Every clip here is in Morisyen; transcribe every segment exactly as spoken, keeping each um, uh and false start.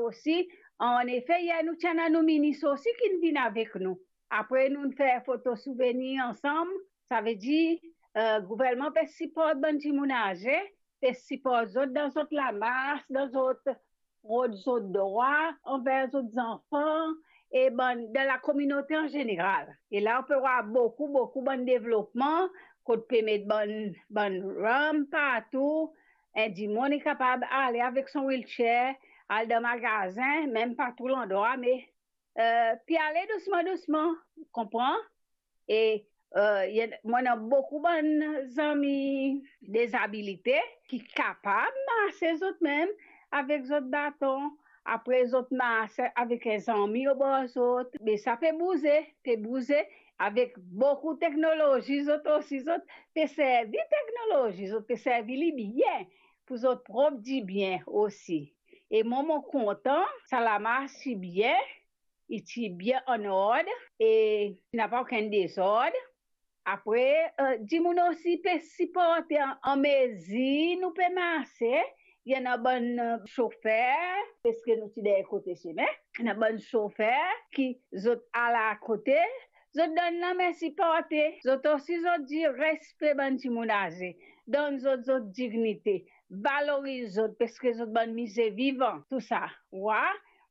osi. Anefe, yer nou ti ena nou minis osi ki vinn avek nou. Apre, nou fer foto souvenir ansam. Savedir, eh, gouvernman pe siport bann dimoun aze, pe siport zot dan zot lamars, dan zot rod zot drwa anver zot zanfan e bann, dan lakominote an zeneral. E la, ou pe war boukou, boukou bann devlopman, kot pe met bann, bann ramp partou. Enn dimoun li kapav ale avek son wheelchair, al dan magazin, mem pa tou landrwa, me, eh, pe ale dousman, dousman, konpran? E, eh, mo ena boukou bann zami dezabilite ki kapav marse zot mem avek zot baton. Apre, zot marse avek enn zami obor zot. Me sa pe bouze, pe bouze avek boukou teknolozi. Zot osi, zot pe servi teknolozi, zot pe servi li bien pou zot prop dibien osi. E mwa, mo kontan, sa la mars ti bien, li ti bien an ord e ti napa okenn dezord. Apre, eh, dimoun osi pe siporte an, an mezir nou pe marse. Ena bann, eh, sofer, paski nou ti deryer kote sime, ena bann sofer ki zot al akote, zot donn lame siporte. Zot osi, zot dir respe bann dimoun aze, donn zot zot dignite, valoriz zot, paski zot bann mize vivan, tou sa. Wa,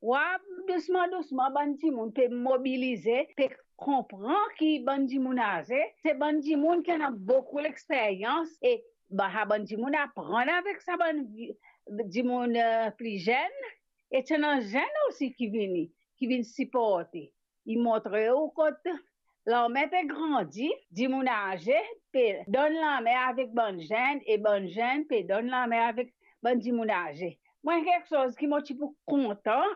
wa, dousman, dousman, bann dimoun pe mobilize, pe konpran ki bann dimoun aze, se bann dimoun ki ena boukou lexperyans, e ba, sa bann dimoun aprann avek sa bann vi-, dimoun, eh, pli zenn, e ti ena zenn osi ki vini, ki vinn siporte. Li montre ou kot lame pe grandi, dimoun aze pe donn lame avek bann zenn, e bann zenn pe donn lame avek bann dimoun aze. Mwa, kiksoz ki mo ti pou kontan,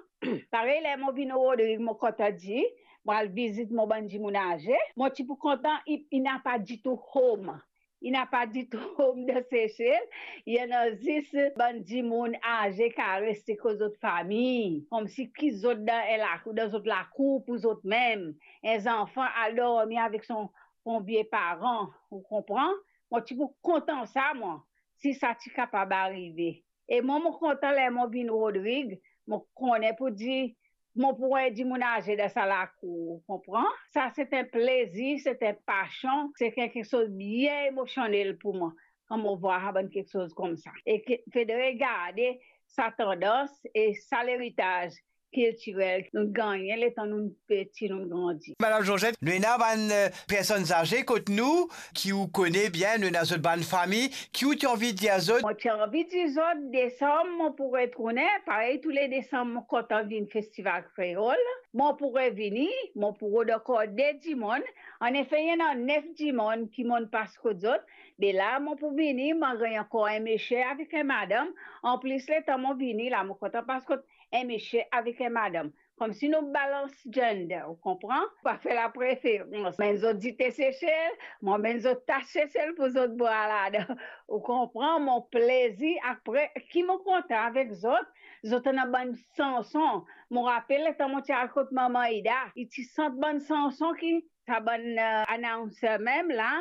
parey ler mo vinn Rodrig, mo kontan dir, mo al vizit mo bann dimoun aze, mo ti pou kontan, li, li napa ditou home. Li napa ditou home dan Sesel, li ena zis bann dimoun aze ki al reste kot zot fami, koumsi ki zot dan enn lakour, dan zot lakour pou zot mem. Enn zanfan al dormi avek son, son vie paran, ou konpran? Mo ti pou kontan sa, mwa, si sa ti kapav arive. E mwa, mo kontan ler mo vinn Rodrig, mo kone pou dir mo pou war dimoun aze dan sa lakour, ou konpran? Sa se enn plezir, se enn pasion, se enn kiksoz bien emosionel pou mwa, kan mo war sa bann kiksoz koumsa. E ki fode regarde sa tandans e sa leritaz kiltirel nou gagne letan nou peti, nou grandi. Madam Georgette, nou ena bann, eh, personn aze kot nou, ki ou kone bien, nou ena zot bann fami, ki ou ti anvi dir zot? Mo ti anvi dir zot, desam, mo pou retourne, parey tou le desam, mo kontan vinn Festival Kreol. Mo pou revini, mo pou rod ankor de dimoun. Anefe, ena nef dimoun ki monn pas kot zot. De la, mo pou vini, mo gagn ankor enn misie avek enn madam. Anplis, letan mo vini la, mo kontan pas kot enn misie avek enn madam. Koumsi nou balans gender, ou konpran? Pa fer lapreferans. Mem zot dite Sesel, mo amenn zot tas Sesel pou zot bwar ladan. Ou konpran? Mo plezir, apre, ki mo kontan avek zot, zot ena bann sanson. Mo rapel letan mo ti al kot Mama Ida, li ti sant bann sanson ki sa bann, eh, announcer mem la,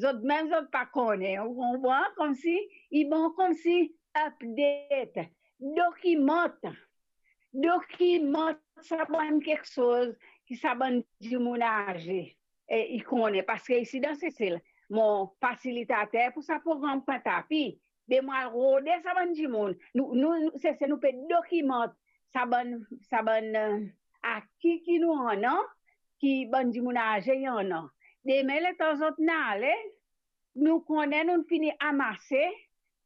zot mem zot pa kone, ou konpran? Koumsi, li bon koumsi update, dokimant, dokimant sa bann kiksoz ki sa bann dimoun aze, eh, li kone, paski isi dan Sesel, mo fasilitater pou sa program Pwint Tapi, be mo al rode sa bann dimoun. Nou, nou, nou, Sesel, nou pe dokimant sa bann, sa bann, eh, aki ki nou ena, ki bann dimoun aze ena. Demin, letan zot nale, nou kone nou fini amase,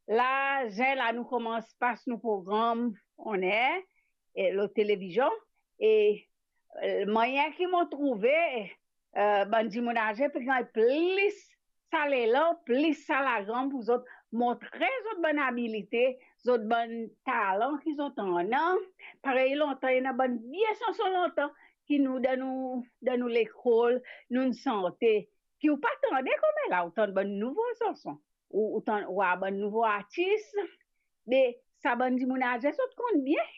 la, zen la, nou koumans pas nou program on-air, e, lor televizion, e, eh, mwayin ki mo trouve, eh, bann dimoun aze pe gagn plis sa lelan, plis sa lagram pou zot montre zot bann abilite, zot bann talan ki zot ena. Parey lontan, ena bann vie sanson lontan ki nou, dan nou, dan nou lekol, nou sante, ki ou pa tande kouma la, ou tann bann nouvo sanson, ou, ou tann, ou war bann nouvo artis, be sa bann dimoun aze zot konn bien.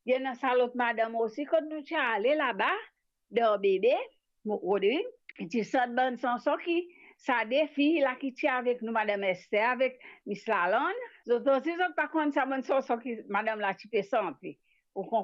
Ena sa lot madam osi, kot nou ti ale laba, dan Bebe, mo, Rodrig, ti sant bann sanson ki sa de fi la ki ti avek nou, Madam Esther avek Miss Lalande, zot osi zot pa konn sa bann sanson ki madam la ti pe sante. Ou konpran?